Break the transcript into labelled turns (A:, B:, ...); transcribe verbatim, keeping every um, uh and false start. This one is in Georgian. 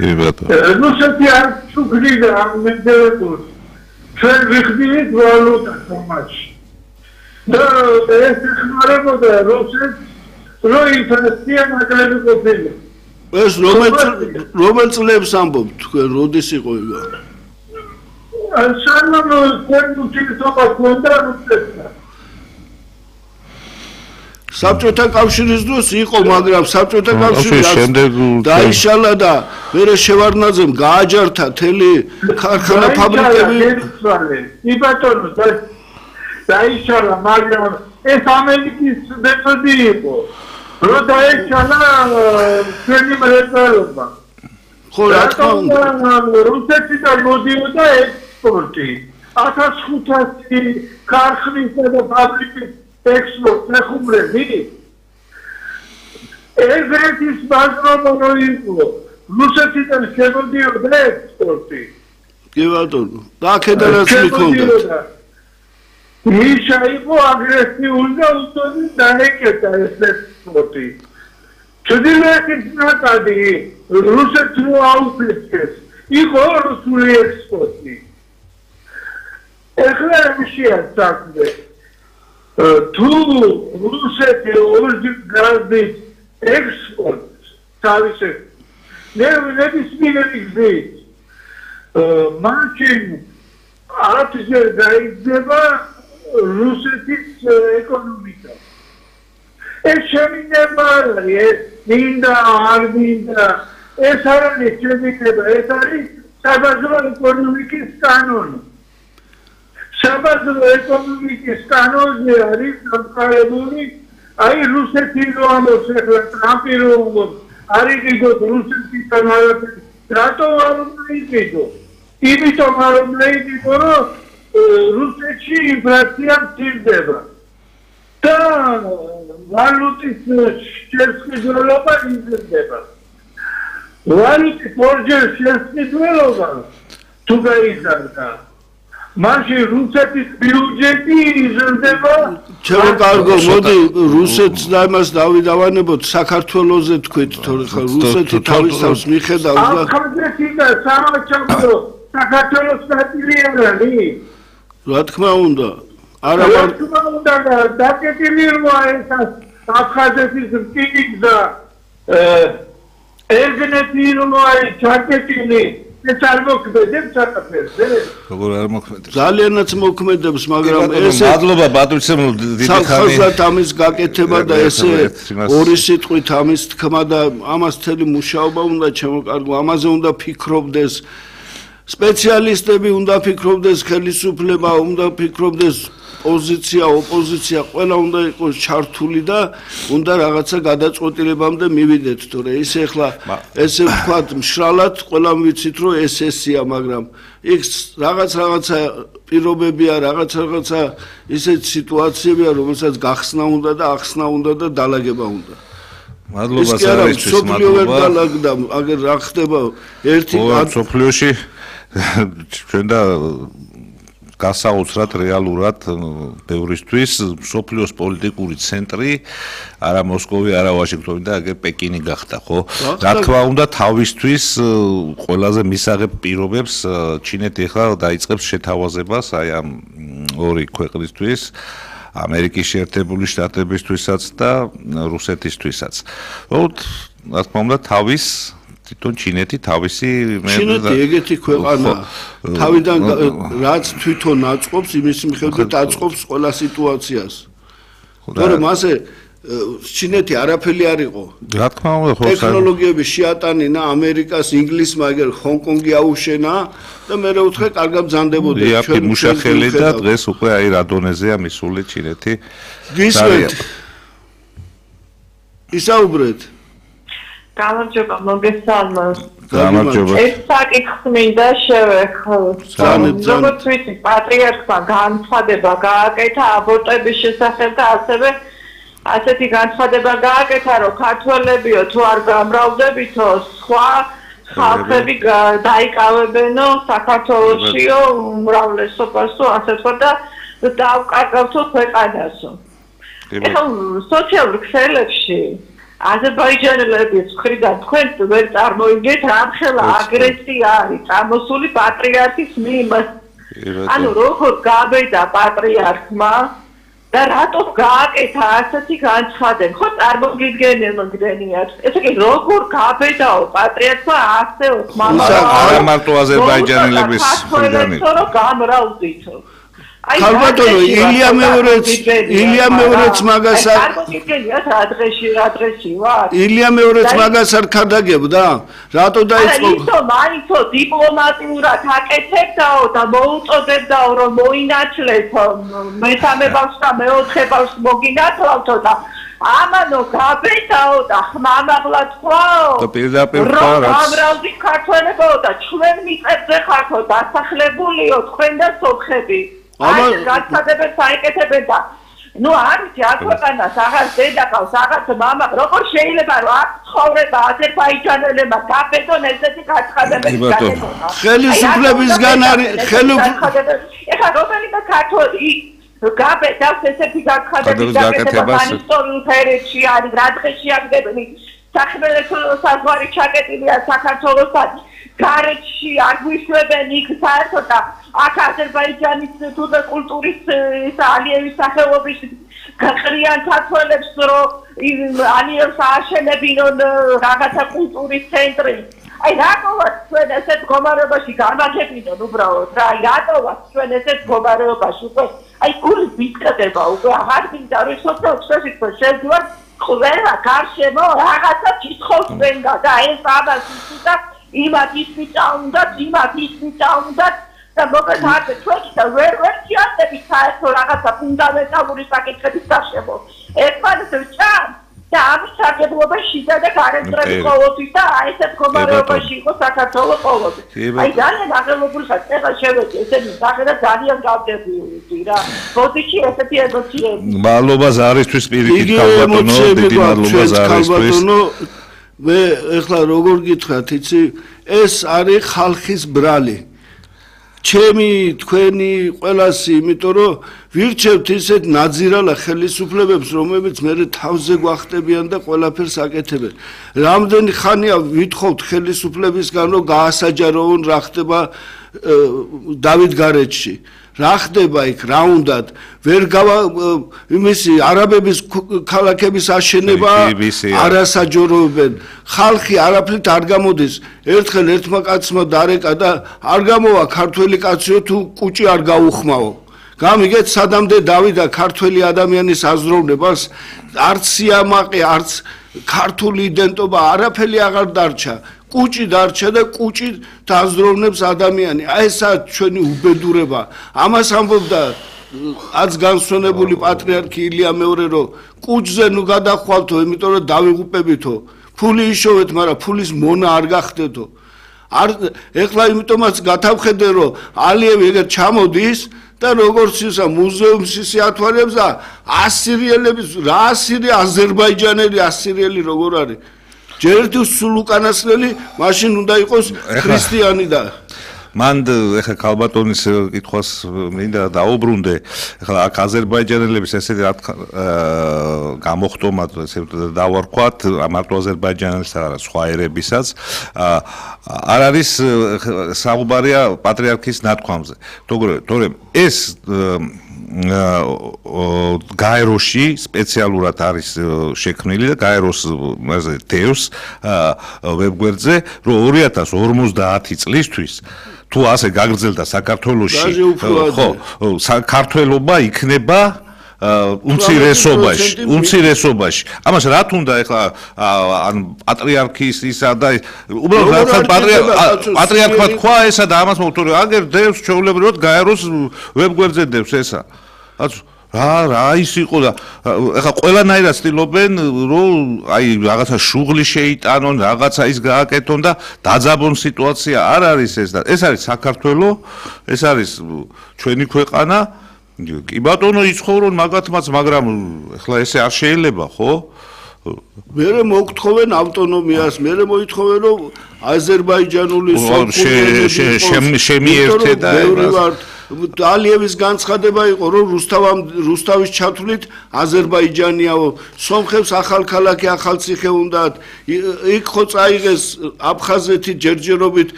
A: რუსეთი არ ჩუქრიდა ამ მენდელებს ჩვენ ვიხდით ვალუტას ამაში და ეს ხმარებოდა რუსეთს რო ინფლაცია მაგარი ყოფილა
B: ეს რომელ რომელ წლებს ამბობთ თქვენ როდის იყო იგა
A: სანამ სერბეთსა კონდა რუსეთსა
B: საბჭოთა კავშირის დროს იყო მაგრამ საბჭოთა კავშირი დაიშალა და მერე შევარდნაძემ გააჯართა თელი ქარხანა ფაბრიკები
A: კი ბატონო დაიშალა მაგრამ ეს ამერიკის მეთოდი იყო რო დაიშალა ჩვენი მრეწველობა
B: ხო რა თქმა უნდა
A: რუსეთიდან მოდიოდა ექსპორტი ათას ხუთასი ქარხნისა და ფაბრიკის ექსპორტ ნახუმრები ეგრეთის ბაზრობა რო იყო რუსეთიდან შემოდიოდა ექსპორტი
B: კი ბატონო და აქედანაც მიქონდათ მიშა იყო აგრესიული და უთოდი დაეკეტა ეს ექსპორტი ჩრდილოეთის ნაკადი რუსეთს რო აუფლეს იყო რუსული ექსპორტი ეხლა მიშია საქმე თუ რუსეთი ორჯერ გაზის ექსპორტს თავის ნებისმიერი გზით მაშინ ათჯერ გაიზრდება რუსეთის ეკონომიკა ეს შემინება არის მინდა არ მინდა ეს არ არის შემინება ეს არის საბაზრო ეკონომიკის კანონი საბაზრო ეკონომიკის კანონზე არის დამყარებული აი რუსეთი რო ამბობს ახლა ტრამპი რო ამბობს არ იყიდოთ რუსეთიდან არაფერი რატო არ იყიდო იმიტომ არ იყიდო რომ რუსეთში ინფლაცია მცირდება და ვალუტის შესყიდველობა იზრდება ვალუტის ორჯერ შესყიდველობა თუ გაიზარდა მაშინ რუსეთის ბიუჯეტი იზრდება ჩემო კარგო მოდი რუსეთს და იმას დავიდავანებოთ საქართველოზე თქვით თორე ხა რუსეთი თავის თავს მიხედავს და
A: ახალგაზრდა და სამაჩაბლო საქართველოს ნაწილი არ არის
B: რა თქმა უნდა არა
A: რა თქმა უნდა დაკეტილი როა ეს აფხაზეთის რკინიგზა ერგენეთი როა ჩაკეტილი ეს არ მოქმედებს საქართველოზე
C: როგორ არ მოქმედებს
B: ძალიანაც მოქმედებს მაგრამ
C: ესე მადლობა ბატონო დიდი ხანი
B: ხალხად ამის გაკეთება და ესე ორი სიტყვით ამის თქმა და ამას თელი მუშაობა უნდა ჩემოკარგო ამაზე უნდა ფიქრობდეს სპეციალისტები უნდა ფიქრობდეს ხელისუფლება უნდა ფიქრობდეს პოზიცია ოპოზიცია ყველა უნდა იყოს ჩართული და უნდა რაღაცა გადაწყვეტილებამდე მივიდეთ თორე ისე ახლა ესე ვთქვათ მშრალად ყველამ ვიცით რომ ეს ესია მაგრამ იქ რაღაც რაღაცა პირობებია რაღაც რაღაცა ისეთ სიტუაციებია რომელსაც გახსნა უნდა და ახსნა უნდა და დალაგება უნდა
C: მადლობა საერთოდ
B: მადლობა აგერ რა ხდება ერთი
C: სოფლიოში ჩვენ და გასაოცრად რეალურად ბევრისთვის სოფლიოს პოლიტიკური ცენტრი არა მოსკოვი არა ვაშინგტონი და აგერ პეკინი გახდა ხო რა თქმა უნდა თავისთვის ყველაზე მისაღებ პირობებს ჩინეთი ახლა დაიწყებს შეთავაზებას აი ამ ორი ქვეყნისთვის ამერიკის შეერთებული შტატებისთვისაც და რუსეთისთვისაც უბრალოდ რა თქმა უნდა თავის თვითონ ჩინეთი თავისი
B: ჩინეთი ეგეთი ქვეყანა თავიდან რაც თვითონ აწყობს იმის მიხედვით აწყობს ყველა სიტუაციას თორემ ასე ჩინეთი არაფერი არ იყო
C: რა თქმა უნდა ხო
B: ტექნოლოგიები შეატანინა ამერიკას ინგლისმა ეგერ ჰონკონგი აუშენა და მე რა ვთქვა კარგად ბრძანდებოდი
C: ჩვენ მუშახელი და დღეს უკვე აი რა დონეზეა მისული ჩინეთი
B: გისმენთ ისაუბრეთ
D: გამარჯობა მოგესალმოთ.
C: გამარჯობა.
D: ეს საკითხს მინდა შევეხო. როგორც ვიცი, პატრიარქმა განცხადება გააკეთა აბორტების შესახებ და ასევე ასეთი განცხადება გააკეთა, რომ ქართველებიო თუ არ გამრავლდებითო, სხვა ხალხები დაიკავებენო საქართველოსიო უმრავლესობასო, ასე თქვა და დავკარგავთო ქვეყანასო. ეხლა სოციალურ ქსელებში აზერბაიჯანელების მხრიდან თქვენ ვერ წარმოიდგენთ რამხელა აგრესია არის წამოსული პატრიარქის მიმართ. ანუ როგორ გაბედა პატრიარქმა და რატომ გააკეთა ასეთი განცხადები? ხო წარმოგიდგენიათ. ესე იგი როგორ გაბედაო პატრიარქმა ასე
C: მამაო არა მარტო აზერბაიჯანელების მხრიდან
D: რომ გამრავდითო.
B: ქალბატონო ილია მეორეც ილია მეორეც მაგას არ
D: წარმოგიდგენიათ რა დღეში რა დღეში ვარ?
B: ილია მეორეც მაგას არ ქადაგებდა? რატო დაიწყო?
D: აი ისო მაინცო დიპლომატიურად აკეთებდაო და მოუწოდებდაო რომ მოინათლეთ მესამე ბავშვს და მეოთხე ბავშვს მოგინათლავთო და ამანო გაბედაო და ხმამაღლა თქვაო
C: და პირდაპირ თქვა რაც
D: გამრავდი ქართველებო და ჩვენ მიწებზე ხართო დასახლებულიო თქვენ და სოხები აი გაცადებებს აიკეთებენ და ნუ არის აკვანას აღარ დედაკავს აღარ მამა როგორ შეიძლება რომ აქ ცხოვრება აზერბაიჯანელებმა გაბედონ ესეთი გაცხადებები
C: გაკეთონ
B: ხელისუფლებისგან არის ხელისუფლების
D: ეხლა რომელიმე ქართველი გაბედავს ესეთი გაცხადების გაკეთება ისტორიულ ფერებში არის რა დღეში აღდებენი სახელმწიფო საზღვარი ჩაკეტილია საქართველოსთან გარეთში არ გვიშვებენ იქ საერთოდ და აქ აზერბაიჯანის თუთა კულტურის ალიევის სახელობის გაყრიან ქართველებს რომ ალიევს ააშენებინონ რაღაცა კულტურის ცენტრი აი რატოაც ჩვენ ესეთ მდგომარეობაში გამაგებინონ უბრალოდ რა აი რატოაც ჩვენ ესეთ მდგომარეობაში უკვე აი გული ვიკდება უკვე აღარ მინდა რომ სოციალურ სფეროში შევდივარ ყველა გარშემო რაღაცა კითხავს ვენდა და ეს ამას უსუდა იმათ ისმიჭა უნდა იმათ ისმიჭა უნდა და მოკლედ აქ ჩვენ და ვერ ვერ შეადებით საერთო რაღაცა ფუნდამენტალური საკითხების გარშემო ერთმანეთს ვჭამ და ამის სარგებლობაში და გარემწრები ყოველთვის და აი ესეთ მდგომარეობაში იყო საქართველოს ყოველთვის აი ძალიან აღელვებული ხარ ეხლა შევედი ესენი სახე და ძალიან გავდებიდი რა ბოდიში ესეთი ემოციები
C: მადლობა ზარისთვის პირიქით ქალბატონო დიდი მადლობა ზარისთვის
B: მე ეხლა როგორ გითხრათ იცი ეს არის ხალხის ბრალი ჩემი თქვენი ყველასი იმიტომ რომ ვირჩევთ ისეთ ნაძირალა ხელისუფლებებს რომლებიც მე თავზე გვახტებიან და ყველაფერს აკეთებენ რამდენი ხანია ვითხოვთ ხელისუფლებისგან რომ გაასაჯაროონ რა ხდება დავითგარეჯში რა ხდება იქ რა უნდათ ვერ გავა იმისი არაბების ქალაქების აშენება არასაჯაროებენ ხალხი არაფრით არ გამოდის ერთხელ ერთმა კაცმა დარეკა და არ გამოვა ქართველი კაციო თუ კუჭი არ გაუხმაო გამიგეთ სადამდე დავიდა ქართველი ადამიანის აზროვნებას არც სიამაყე არც ქართული იდენტობა არაფერი აღარ დარჩა კუჭი დარჩა და კუჭი დააზროვნებს ადამიანი აი ესა ჩვენი უბედურება ამას ამბობდა აც განსვენებული პატრიარქი ილია მეორე რომ კუჭზე ნუ გადახვალთო იმიტომ რომ დავიღუპებითო ფული იშოვეთ მაგრამ ფულის მონა არ გახდეთო არ ეხლა იმიტომაც გათავხედე რომ ალიევი ეგერ ჩამოდის და როგორც ისა მუზეუმს ისე ათვალებს და ასირიელების რა ასირი აზერბაიჯანელი ასირიელი როგორ არის ჯერ თუ სულ უკანასკნელი მაშინ უნდა იყოს ქრისტიანი და
C: მან ეხა ქალბატონის კითხვას მინდა დაუბრუნდე ეხლა აქ აზერბაიჯანელების ესეთი რა გამოხტომად ესე დავარქვათ მარტო აზერბაიჯანელს არა სხვა ერებისაც არ არის საუბარია პატრიარქის ნათქვამზე თორემ ეს გაეროში სპეციალურად არის შექმნილი და გაეროს მასე დევს ვებგვერდზე რომ ორი ათას ორმოცდაათი წლისთვის თუ ასე გაგრძელდა საქართველოში ხო საქართველობა იქნება უმცირესობაში უმცირესობაში ამას რა თუნდა ეხლა ან პატრიარქის ისა და უბრალოდ პატრიარქმა თქვა ესა და ამას მოუწოდე აგერ დევს ჩვეულებრივად გაეროს ვებგვერდზე დევს ესა რა რა ის იყო და ეხლა ყველანაირად ცდილობენ რომ აი რაღაცა შუღლი შეიტანონ რაღაცა ის გააკეთონ და დაძაბონ სიტუაცია არ არის ეს და ეს არის საქართველოს ეს არის ჩვენი ქვეყანა კი ბატონო იცხოვრონ მაგათმაც მაგრამ ეხლა ესე არ შეიძლება ხო
B: მერე მოგთხოვენ ავტონომიას მერე მოითხოვენ რომ აზერბაიჯანული
C: შემიერთე და
B: ალიევის განცხადება იყო, რომ რუსთავამ რუსთავის ჩათვლით აზერბაიჯანიაო, სომხებს ახალქალაქი ახალციხე უნდათ, იქ ხო წაიღეს აფხაზეთი ჯერჯერობით